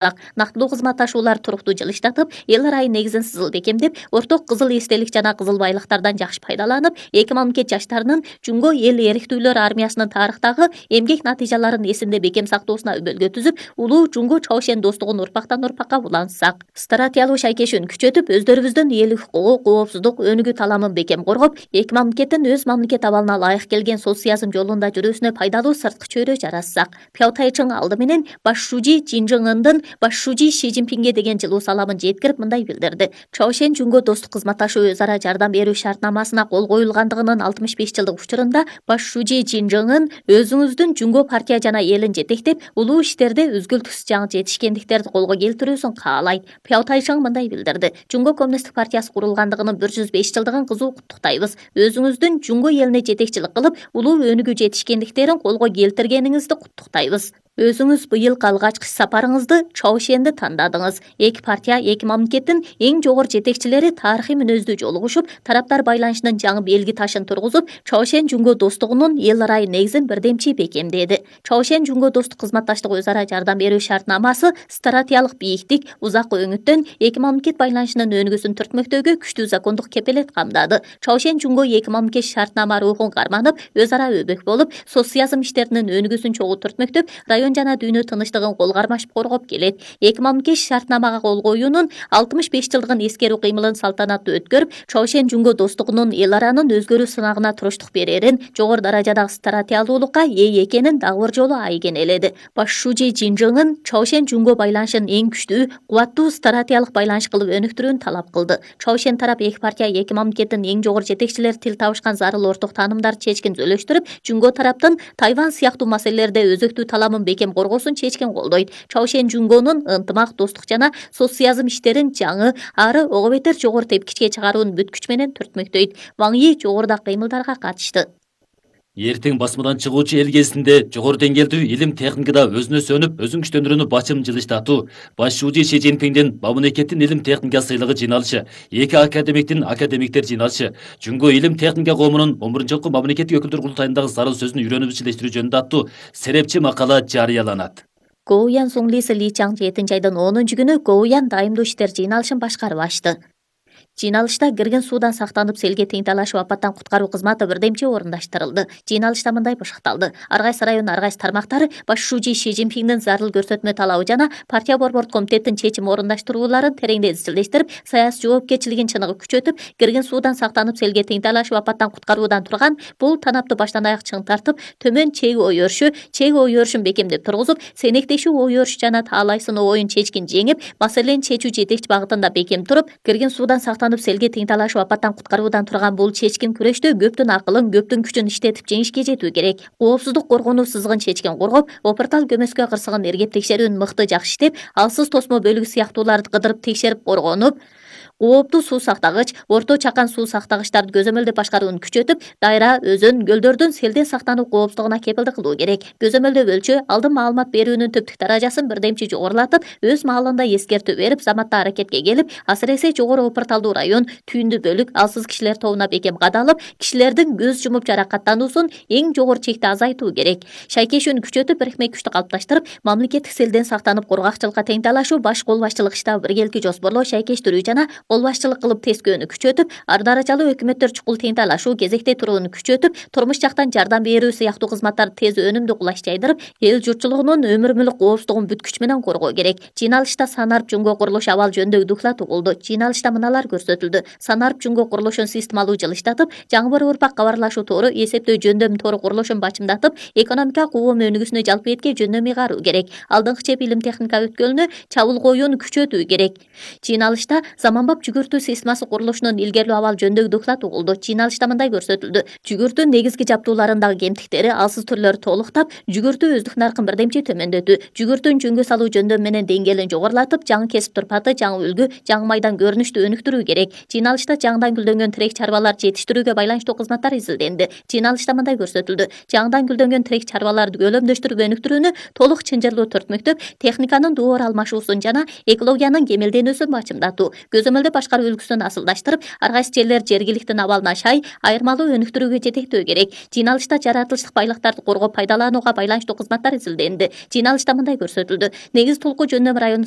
Нактылуу кызматташуулар туруктуу жылыштатып, эл ырайын негизин сызыл бекемдеп, орток кызыл эстелик жана кызыл байлыктардан жакшы пайдаланып, эки мамлекет жаштарынын Жумго эл эрктүүлөр армиясынын тарыхтагы эмгек натыйжаларын эсинде бекем сактоосуна өбөлгө түзүп, улуу Жумго Чоушен достугун урпактан урпакка улантсак. Стратегиялуу шайкешүүнү күчөтүп, өздөрүбүздүн элдик хукугу, коопсуздук, өнүгүү таламын бекем коргоп, эки мамлекеттин өз мамлекет абалына ылайык келген социализм жолунда жүрүүсүнө пайдалуу сырткы чөйрө жаратсак. Пяутайчың алды менен баш шужи Чинжыңындын баш шужи Ши Цзиньпинге деген жылуу саламын жеткирип мындай билдирди. Чоушен Жумго достук кызматташуу өз ара жардам берүү шартнамасына кол коюлгандыгынын 65 жылдык учурунда баш шужи Чинжыңын өзүңүздүн Жумго партия жана элин жетектеп, улуу иштерде үзгүлтүксүз жаңы жетишкендиктерди колго келтирүүсүн каалайт. Пяутайчың мындай билдирди. Жумго коммунисттик партиясы курулгандыгынын 105 жылдыгын кызуу куттуктайбыз. Өзүңүздүн Жумго элине жетекчилик кылып, улуу өнүгүү жетишкендиктерин колго келтиргениңизди куттуктайбыз. Өзүңүз быйыл алгачкы сапарыңызды Чоушенди тандадыңыз. Эки партия, эки мамлекеттин эң жогору жетекчилери тарыхый мүнөздүү жолугушуп, тараптар байланышынын жаңы белги ташын тургузуп, Чоушен Жумго достугунун эл ырайын негизин бирдемчи бекемдеди. Чоушен Жумго достук кызматташтык өз ара жардам берүү шартнамасы стратегиялык бийиктик, узак өңүттөн эки мамлекет байланышынын өнүгүүсүн түртмөктөөгө күчтүү закондук кепелет камдады. Чоушен Жумго эки мамлекет шартнама рухун карманып, өз ара өбөк болуп, социализм иштеринин өнүгүүсүн чогуу түртмөктөп, район жана дүйнө тынычтыгын кол кармашып коргоп келет. Эки мамлекет шартнамага кол коюунун 65 жылдыгын эскерүү кыймылын салтанаттуу өткөрүп, Чоушен Жумго достугунун эл аранын өзгөрүү сынагына туруштук берерин, жогору даражадагы стратегиялуулукка ээ экенин дагы бир жолу айгинеледи. Баш шужи Чинжыңын Чоушен Жумго байланышын эң күчтүү, кубаттуу стратегиялык байланыш кылып өнүктүрүүнү талап кылды. Чоушен тарап эки партия, эки мамлекеттин эң жогору жетекчилери тил табышкан зарыл орток таанымдарды чечкин зөвлөштүрүп, Жумго тараптын Тайвань сыяктуу маселелерде өзөктүү таламын бекем коргоосун чечкен колдойт. Чоушен Жумгонун ынтымак, достук жана социализм иштерин жаңы, ары ого бетер жогору тепкичке чыгаруун бүт күч менен түртмөктөйт. Ваң Yi жогорудагы кыймылдарга катышты. Эртең басмадан чыгуучу эл кезинде жогору деңгээлдүү илим техникада өзүнө сөнүп, өзүн күчтөндүрүүнү бачым жылыштатуу, баш шужи Ши Цзиньпиндин мамлекеттин илим техника сыйлыгы жыйналышы, эки академиктер жыйналышы, Жумго илим техника коомунун 11-жолку мамлекеттик өкүлдөр курултайындагы зарыл сөзүн үйрөнүп ишилештирүү жөнүндө аттуу серепчи макала жарыяланат. Гоуян Суңлиси Ли Чаң 7 айдын 10 күнү Гоуян дайымдуу иштер жыйналышын башкарып ачты. Жыйналышта кирген суудан сактанып селге тең талашып апаттан куткаруу кызматы бирдемчи орундаштырылды. Жыйналышта мындай башыкталды. Ар кайсы район, ар кайсы тармактары баш шужи Ши Цзиньпиндин зарыл көрсөтмө талабы жана партия борбордук комитеттин чечим орундаштырууларын тереңдей изчилдештирип, саясий жоопкерчилигин чыныгы күчөтүп, кирген суудан сактанып селге тең талашып апаттан куткаруудан турган бул танапты баштан аяк чың тартып, төмөн чек ой өрүшүн бекемдеп тургузуп, сенектешүү ой өрүш жана таалай сыноо оюн чечкин жеңип, маселени чечүү жетекчи багытында бекем туруп, кирген суудан сактанып селге тең талашып апаттан куткаруудан турган бул чечкин күрөштө көптүн акылын, көптүн күчүн иштетип жеңишке жетүү керек. Коопсуздук коргонуу сызыгын чечкин коргоп, опуртал көмөскө кырсыгын эргеп текшерүүнү мыкты жакшы иштеп, алсыз тосмо бөлүгү сыяктууларды кыдырып текшерип коргонуп, кооптуу суу сактагыч, орто чакан суу сактагычтарды көзөмөлдөп башкарууну күчөтүп, дайра, өзөн, көлдөрдүн селден сактануу коопсуздугуна кепилдик кылуу керек. Көзөмөлдөп өлчөө, алдын маалымат берүүнүн түптүк даражасын бирдемчи жогорулатып, өз маалында эскертүү берип, заматта аракетке келип, асыресе жогору опурталдуу район, түйүндүү бөлүк, алсыз кишилер тобуна бекем кадалып, кишилердин көз жумуп жаракаттануусун эң жогору чекте азайтуу керек. Шайкешүүнү күчөтүп, бирикме күчтү калыпташтырып, мамлекеттик селден сактанып коргакчылыкка тең талашуу, баш кол башчылык штабы биргеликти жоспорлоо, шайкештирүү жана кол башчылык кылып тескөөнү күчөтүп, ар даражалуу өкмөттөр чукул тең талашуу, кезекте турууну күчөтүп, турмуш жактан жардам берүү сыяктуу кызматтарды тез өнүмдүү кулаш жайдырып, эл журтчулугунун өмүр мүлк коопсуздугун бүт күч менен коргоо керек. Жыйналышта Санарп Жумго курулуш абал жөнүндөгү доклад угулду. Жыйналышта мыналар көрсөтүлдү. Санарп Жумго курулушун системалуу жылыштатып, жаңы бір урпак кабарлашуу тору, эсептөө жөндөм тору курулушун бачымдатып, экономика коом өнүгүүсүнө жалпы этке жөндөм ыйгаруу керек. Алдыңкы чеп илим техника өткөлүнө чабуул коюуну күчөтүү керек. Жыйналышта заманбап жүгүртүү системасы курулушунун илгерилүү абал жөнүндөгү доклад угулду. Жыйналышта мындай көрсөтүлдү. Жүгүртүү негизги жаптууларындагы кемтиктери, алсыз түрлөрү толуктап, жүгүртүү өздүк наркын бирдемчи төмөндөтүү, жүгүртүүнү жөнгө салуу жөндөм менен деңгээлин жогорулатып, жаңы кесип турпаты, жаңы үлгү, жаңы майдан көрүнүштү өнүктүрүү керек. Жыйналышта жаңыдан гүлдөнгөн тирек чарбаларды жетиштирүүгө байланыштуу кызматтар изилденди. Жыйналышта мындай көрсөтүлдү. Жаңыдан гүлдөнгөн тирек чарбаларды көлөмдөштүрүп өнүктүрүүнү толук чынжырлуу түртмөктөп, техниканын доор алмашуусун жана экологиянын кемелденүүсүн бачымдатуу, көзөмөлдө жерлерди башкаруу үлгүсүн асылдаштырып, ар кайсы жерлер жергиликтин абалына шай, айырмалуу өнүктүрүүгө жетектөө керек. Жыйналышта жаратылыштык байлыктарды коргоп пайдаланууга байланыштуу кызматтар изилденди. Жыйналышта мындай көрсөтүлдү: негиз толку жөндөм району